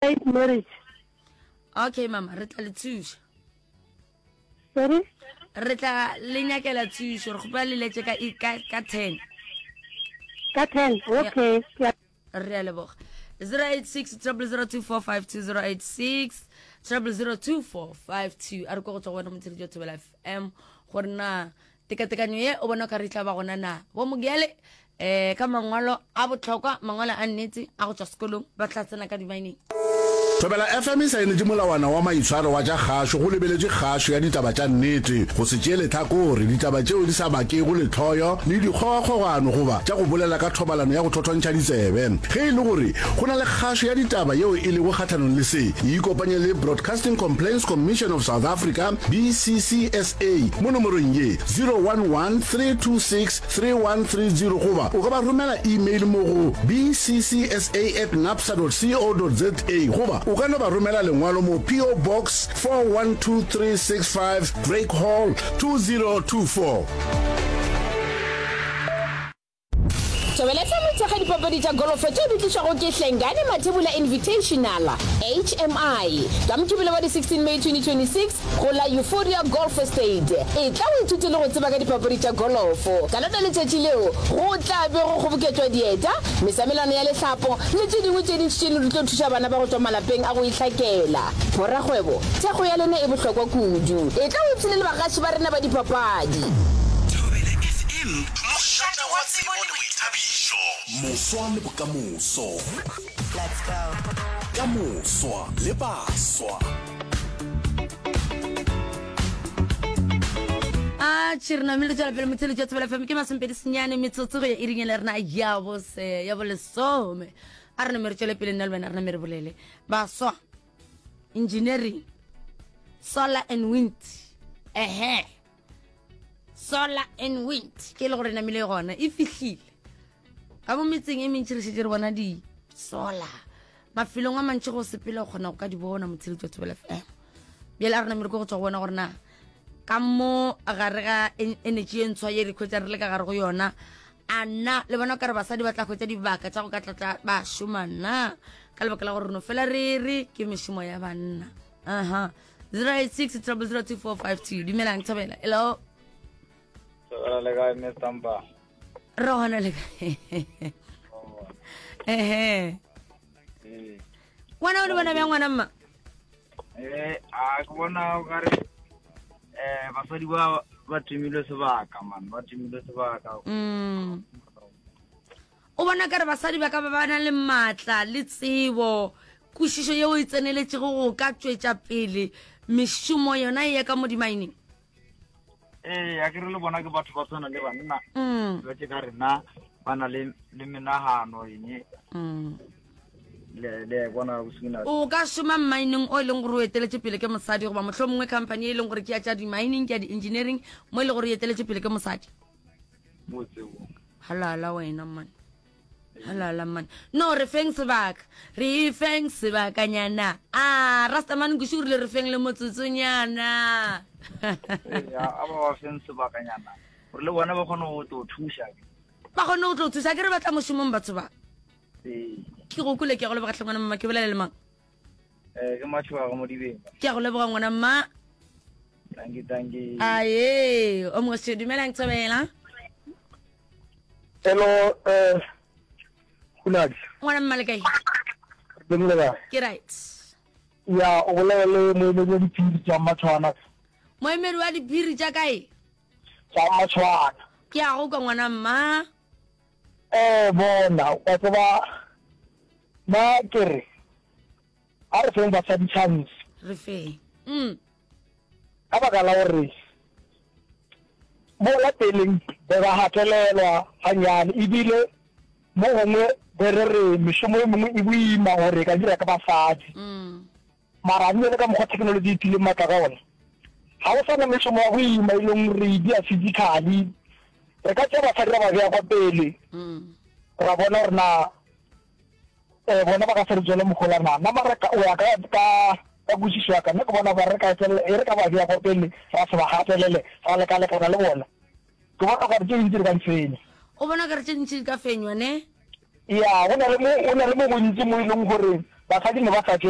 Late marriage. Okay mama, re tla le thuša. Sorry? Re tla le nyakela thušo, re kgopela le letse ka ka ka 10. Ka 10. Okay. Yeah. Re a leboga. 086 0002452 086 0002452 a re ko go tswa go wena motsheletši wa Thobela FM gore na Tekatekanyo ye o bona o ka re e tla ba gona na? Bo Mogele um ka mangwalo a bohlokwa, mangwalo a nnete a go tšwa sekolong, ba tla tsena ka dimaeneng. Thobela FM e saenetše molawana wa maitshwaro wa tša kgašo go lebeletše kgašo ya ditaba tša nnete, go se tšee lehlakore, ditaba tšeo di sa bakego lehloyo le dikgogakgogano goba tša go bolela ka thobalano ya go thothontšha ditsebe. Ge e le gore go na le kgašo ya ditaba yeo e lego kgahlanong le se, ikopanye le Broadcasting Complaints Commission of South Africa, BCCSA, mo nomorong ye, 011 326 3130 goba o ka ba romela email mo go bccsa at napsa dot co dot za goba o ka no ba romela lengwalo mo PO Box 412365 Drake Hall 2024. Thobela FM e thekga dipapadi tša golofo tšeo di tlišwago ke Hlengani Mathebula Invitational, HMI, ka Mokibelo wa di 16 May 2026 go la Euphoria Golf Estate. Etla o ithute le go tseba ka dipapadi tša golofo. Ka lona letšatši leo go tla be go kgoboketšwa dieta, mesamelano ya lehlapo le tše dingwe tše dintši tše di tlo thuša bana ba go tšwa malapeng a go ihlakela. Borakgwebo, thekgo ya lena e bohlokwa kudu. Etla o ipshine le bagaši ba rena ba dipapadi. Thobela FM Mošate wa tsebo le boithabišo. Moswa le bokamoso. Let's go. Ka moswa le baswa. A tšhe re namile re tšwela pele motheletši wa Thobela FM ke masomepedi senyane metsotso go ya iring ya rena ya bose ya bolesome a re name re tšwele pele nna le wena re name re bolele baswa engineering solar and wind ehe solar and wind ke e le gore namile gona e fihlile ka mo metseng e mentši re šetse re bona di-solar mafelong a mantši go sepele o kgona go ka di bona motsheletso wa thobela fm bjale a re namile ko go tswa go bona gore na ka mo gare ga energy e ntshwa ye re khwetsa re le ka gare go yona a na le bona kare basadi ba tla hwetsa dibaka tša go ka tlatla ba šoma na ka lebaka la gore no fela re re ke mešomo ya banna aha 086 0002452 dumelang thobela hello Thobela le kae Mr Mpa? Re gona le kae? Ehe. Ee. Ngwana o le bona bjang ngwana mma? Eh, a ke bona o kare eh basadi ba ba timilwe sebaka man, ba timilwe sebaka. Mm. O bona kare basadi ba ka ba ba na le maatla le tsebo, kwešišo yeo e tseneletšego go ka tšwetša pele mešomo yona e ya ka mo dimaeneng? Ee, a ke re le bona ke batho ba tshwana le banna. Mm. Ba tše ka rena ba na le le menagano eng. Mm. Le le bona bosina. O ka šoma mmineng o e leng gore o eteletše pele ke mosadi goba mohlomongwe company e leng gore ke ya tša di-mining ke ya di-engineering mo e leng gore e eteletše pele ke mosadi? Mo tsebong. Halala wena man. Halala man. No re feng sebaka. Re feng sebakanyana. Ah, Rastaman Nkuši o rile re feng le motsotsonyana. Ya, a ba ba feng sebakanyana. Gore le bona ba kgone go tlo thuša. Ba kgone go tlo thuša ke re batla mošomong batho ba. Ee. Ke go kule ke go leboga tlhe ngwana mama ke bolela le mang? Eh, ke Matšhoga go Modibeng. Ke a go leboga ngwana mma. Dankie, dankie. Aye, o moshe dumelang Thobela. Hello, eh Hunadi. Ngwana mma le kae? Dumela kae? Ke right. Ya, o bolela le moemedi wa diphiri tša Matshwana. Moemedi wa diphiri tša kae? Tša Matshwana. Ke a go kwa ngwana mma. Eh bona, wa tseba nna ke re a re feng basadi chance. Re feng. Mm. Ka baka la gore mola peleng be ba gatelelwa ganyane ebile mo gongwe be re re mešomo e mengwe e boima gore e ka dira ka basadi. Mm. Mara bjale ka mokgwa technology e tlileng matla ka gona, ga go sa na mešomo ya go ima e leng gore e dia physically. Re ka tšea basadi ra ba bea kwa pele, ra bona gore na um bona ba ka se re tswele mohola na. Nna mara go ya ka ka ka kwešišo ya ka, nna ke bona ba re ka tšwelela, e re ka ba bea kwa pele ra se ba gatelele, ra lekalekana le bona, ke bona gore tše dintši re ka di fenya. O bona okare tše dintši di ka fenywa, ne? Ya, go na le mo, go na le mo gontši mo e leng gore. Basadi ne ba sa tšwe.